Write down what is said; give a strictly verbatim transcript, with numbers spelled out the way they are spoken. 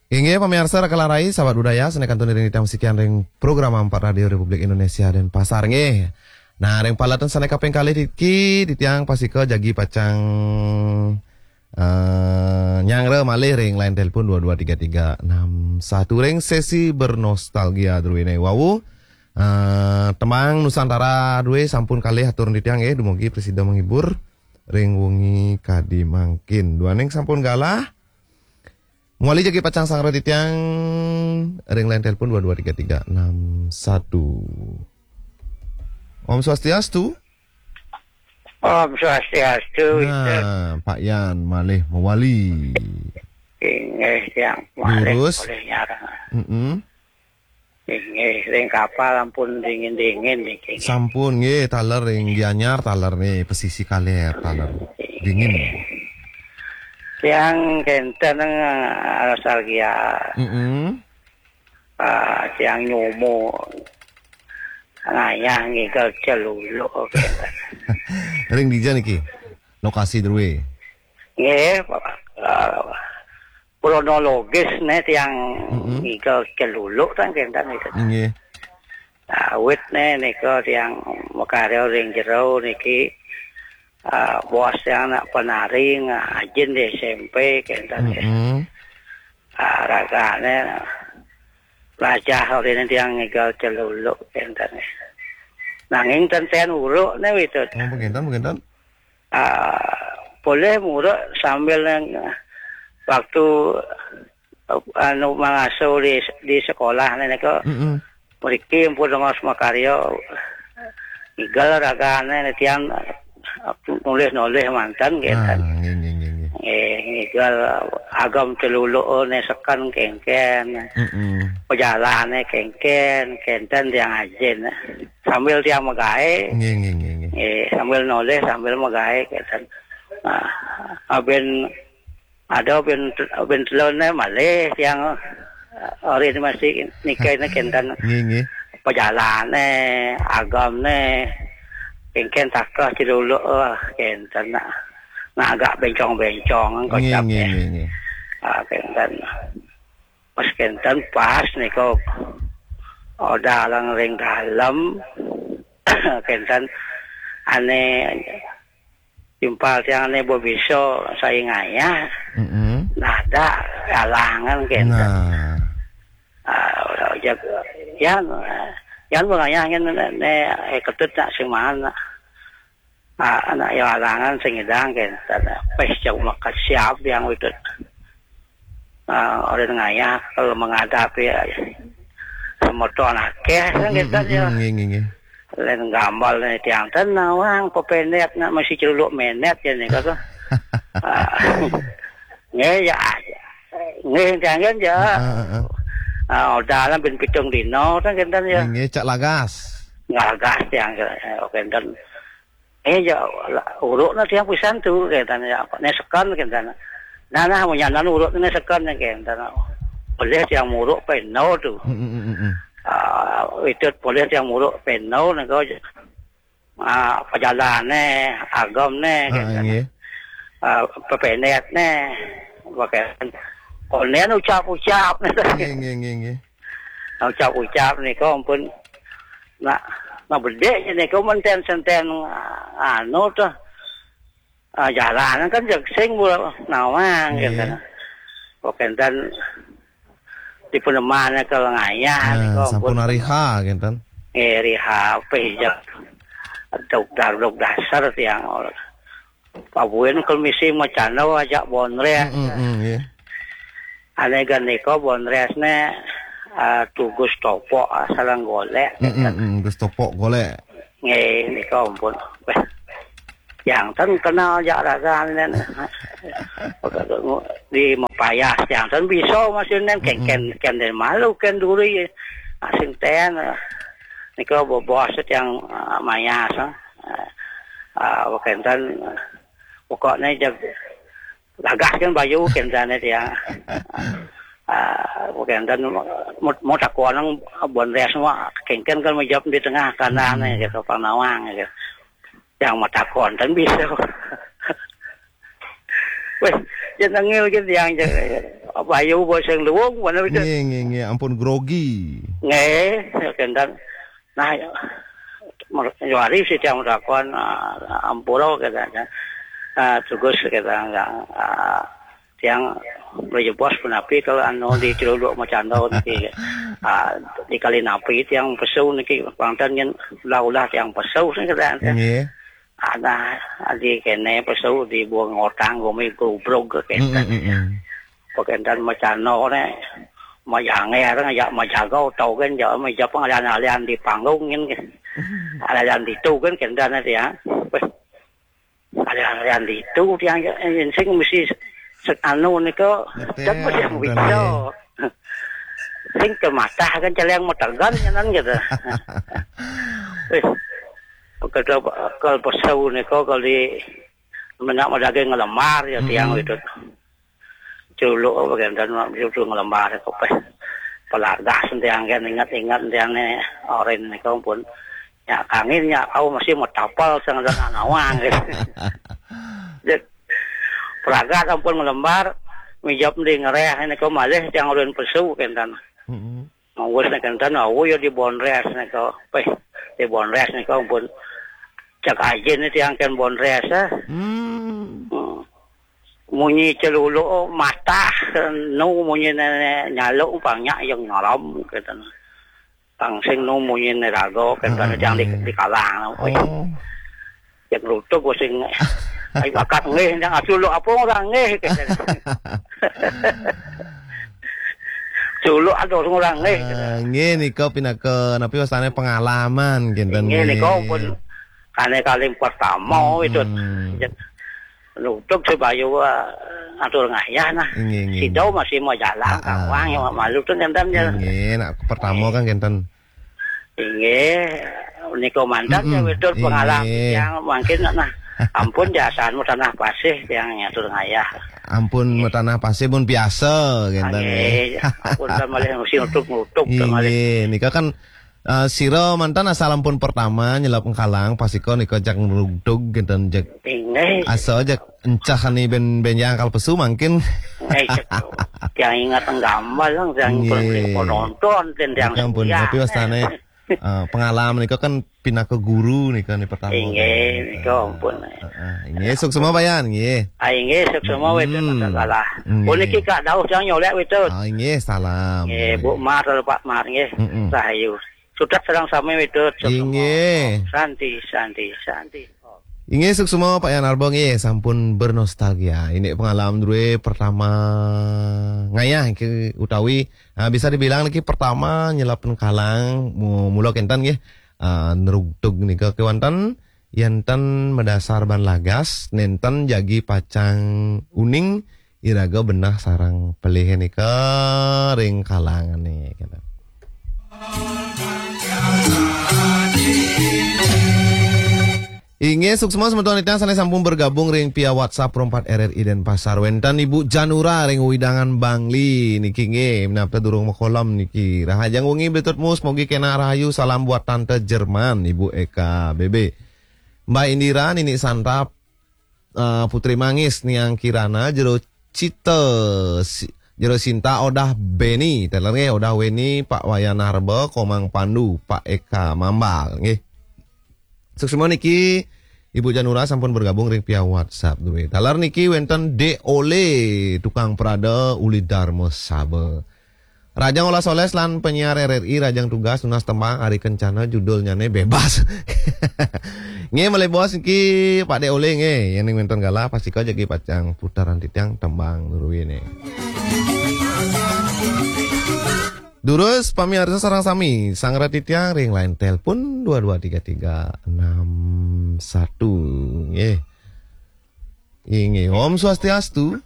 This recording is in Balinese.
Inggih, pamiarsa Raka Larai, sahabat budaya, sané kantun ring titiang sikian ring program Ampat Radio Republik Indonesia Denpasar, nggih. Nah, ring paletan sané kaping kalih niki, titiang pastika jagi pacang, eh, nyanggra malih ring line telepon dua dua tiga tiga enam satu ring sesi bernostalgia druéné wau. Eh, tembang Nusantara drué sampun kalih atur titiang, nggih, dumugi prasida menghibur ring wengi kadi mangkin. Duaning sampun galah, mawali jagi pacang sanggra titiang ring line telepon dua dua tiga tiga enam satu. Om Swastiastu. Om Swastiastu. Nah, Pak Yan malih mawali. Inggih, tiang malih Durus. Malih nyarang. Mm-mm. Inggih, ring kapal ampun dingin-dingin niki. Sampun, nggih, taler ring Gianyar, taler nih, pesisi kaler, taler dingin. Tiang kénten, eh, nostalgia. Mm-mm. Ah, tiang nyumu ngayah ngigel celuluk. Ring dija niki? Lokasi drué. Nggih, eh, kronologis né tiang Mm-mm. ngigel celuluk kan kénten itu. Nggih. Awit né nika tiang makarya ring jero niki, ah, bos tiang anak penari ngajin di S M P kénten. Mm-mm. Ah, ragané lajah orina tiang ngigel celuluk kénten. Nanging ten ten uruk né witut. Oh, begitu, begitu. Ah, polih muruk sambil nang waktu, eh, anu, mangasuh di, di sekolah né nika. Mm-mm. Mriki ampun dongos makarya, igel ragané né tiang nulis-nulis manten. Ah, kénten. Nggih, nggih, nggih, nggih. Eh, igel agem celuluk né seken kénkén. Mm-mm. Pajalané kénkén, kénten tiang ajin. Sambil tiang magaé. Nggih, nggih, nggih, nggih. Eh, sambil nulis, sambil magaé, kénten. Nah, abin ada bin, bin teluné malih tiang, eh, ori masih nikah né kénten. Nggih, nggih. Pajalané, agemné, kénkén takeh celuluk, eh, kénten. Nah, nah, agak bencong-bencong, nggih, kocap nggih, ya. Nggih, nggih. Ah, kénten. Pas kénten pas nika odalan ring dalem, kénten ané timpal tiang ané ba bisa sai ngayah. Mm-mm. Nah, ada alangan kénten. Nah. Ah, udah ojek, yan, yan pengayah ngén né, eh, ketut nak sing mana. Ah, anak ya alangan sing ngidang kénten. Pes jauh makat siap yang witut. Ah, orang ngayah kalau menghadapi, ya, semeton akéh kan. Mm-mm, kénten ya. Mm-mm, nggih, nggih, nggih. Lain gambal né tiang ten nawang pependek nak masih celuluk menet ya nih kata. Ah, nggih ya. Nggih tiang kan ya. Heeh, heeh. Ah, udah lah bin pitung dino kan kénten ya. Nggih, nggih, cak lagas. Lagas tiang, eh, oké, kénten. Eh, ya, uruk na tiang pisan tu, kénten ya. Né seken, kénten. Nah, nah, munyanan uruk né seken, kénten. Polih tiang muruk peno tu. Mm, mm, mm, mm. Ah, witut polih tiang muruk peno, né kau, ah, pajalané, agemné, ah, kénten. Nggih. Ah, pependekné, pakai. Konen ucap-ucap, né. Nggih, nggih, nggih, nggih. Ucap-ucap nika ampun nak, nak bedik nika menten senten, anu tuh. Ah, jalan kan jeg sing mula nawang. Nggih. Kénten. Kok kénten di peneman ke ngayah. Nah, nika sampun ampun. Hari H kénten. Eh, hari H pé jeg. Dok dar dok dasar tiang. Pabuin kalau misi macana ajak bonres. Mm, mm, mm, nggih. Ané gan nika bonresné, ah, tugas topok, ah, sareng golék. Mm, mm, mm, tugas topok golék. Nggih, nika ampun. Wéh. Yang ten kenal jak rasané. Di mapayas yang ten bisa masih nen, kén, mm-mm, kén, kén den malu kén duri. Asing ten, ah, nika bobos yang, ah, mayas, ah. Ah, kénten, pokokné jag lagah kan bayu kénten tiang. Ah, kénten mau, mau takon bonres mah kénkén kan menjawab di tengah kanan, hmm, gitu, pang nawang gitu. Yang mau takon kan bisa. Wéh, ya nengil gitu yang, ya, Pak Bayu, bos sing luwung, mana bisa? Nggih, nggih, nggih, ampun grogi. Nggih, ya, kenten. Nah, ya, mer-, nyuari si tiang takon, ah, ampura, katanya. Ah, tugas, katanya, ah, tiang beli jebos punapi kalau anu di Ciluluk Macando niki, ah, di kali napi tiang pesu niki, pangten yen ulah-ulah tiang pesu sing, katanya. Nggih. Ada di kene pesu di buang ngotang gumi grubrug, kenten. Mm, mm, mm, mm. Pakenten macano ne, majange areng ya majago tau kan ya, majapang alian-alian di panggung kan. Alian ditu kan, kenten ya. Weh, alian-alian ditu tiang ya, sing mesti se-, anu nika, Betul, kan mesti betul, bisa. Sing kematah kan celeng metegan nyenan gitu. Weh, kalau, kalau pesu nika, kalau di menak daging ngelemar ya tiang, mm-mm, gitu. Culuk apa kan, dan mak itu ngelembar kopeh. Pelagas tiang kan, ingat-ingat tiang ne, oren niku pun. Ya, kangin ya, aku mesti mau tapal sang dan nawang gitu. Jadi, pelagas ampun ngelembar, mijap di ngereh niku malih tiang oren pesu, kenten. Mm-mm. Mawis nek kenten, awu ya di bonres niku. Peh, di bonres niku pun cek ajen tiang ken bonres, ah. Hmm. Hmm. Munyi celuluk matah, nu munyi ne nyaluk pang nyak yang ngalam, kenten. Pang sing nu munyi ne raga, kenten, heeh, tiang di, heeh, di kalang. Oh. Yang rutuk sing, "Ai bakat nggih, yang aculuk apa orang nggih," kenten. Culuk ada orang nggih, kenten. Ah, nggih, nika pinaka, napi wastane, pengalaman, kenten, nggih, nika nggih, pun kane kali pertama, mm-mm, itu. Nutup si Bayu, eh, atur ngayah nah. Nggih, nggih, sida nggih, masih mau jalan, ah, ah, kawang ya malu tu kenten ya. Nggih, nak pertama, nggih, kan kenten. Nggih, nika mantan ya, mm-mm, wedhus pengalaman, nggih, yang mungkin nah. Ampun jasanmu tanah pasih yang atur ngayah. Ampun, nggih, tanah pasih pun biasa kenten, nggih, nggih. Ampun kan malih mesti nutup-nutup kan malih. Nggih, nika kan Eh, sira mantan asal ampun pertama nyelap engkalang, pasika nika jak ngrugdug kenten, jak. Inggih. Asa jak encah ni ben, ben yang akal pesu mangkin. Inggih, cek. Yang ingat gambar lang, yang, nggih, penonton, dan yang, ya ampun, tapi wastane, eh, pengalaman nika kan pinaka guru nika ni pertama. Inggih, kan, nika ampun. Heeh, inggih, suksma Pak Yan, nggih. Ah, inggih, suksma, mm-mm, wedhus, masalah. Nggih. Puniki Kak Dauh yang nyolek wedhus. Ah, inggih, salam. Nggih, Bu Mar, Pak Mar, nggih. Mm-mm. Rahayu. Sudah sareng sami wedhus. Inggih. Santi, santi, santi. Inggih, suksma Pak Yan Arbo nggih, sampun bernostalgia. Ini pengalaman druwe pertama ngayah niki utawi, ah, bisa dibilang niki pertama nyelap engkalang mu-, mula kenten nggih. Ah, nrugdug nika kewanten, yenten medasar ban lagas, nenten jagi pacang uning, iraga benah sareng pelih nika ring kalangane, kenten. Inggih, suksma semeton titiang sane sampun bergabung ring via WhatsApp Pro empat R R I Denpasar. Wenten Ibu Janura ring wewidangan Bangli niki nggih, minab durung makolam niki. Rahajeng wengi Bli Tutmus, mogi kena rahayu. Salam buat Tante Jerman, Ibu Eka B B. Mbak Indira, Nini Santap, eh, Putri Mangis, Niang Kirana, Jero Cita, Si-, Jero Sinta, Odah Beni, teler nggih, Odah Weni, Pak Wayan Harba, Komang Pandu, Pak Eka Mambal, nggih. Suksma niki, Ibu Janura sampun bergabung ring via WhatsApp, druwe. Taler niki wenten Dek Ole, tukang prada uli Darma Saba. Rajang olas oles lan penyiar R R I rajang tugas nunas tembang ari kencana judulnyane Bebas. Nggih, malih bos niki Pak Dek Ole nggih, yen ning wenten galah pastika jagi pacang putaran titiang tembang druwene. Durus pamiarsa sareng sami, sanggra titiang ring line telepon dua dua tiga tiga enam satu nggih. Inggih, Om Swastiastu.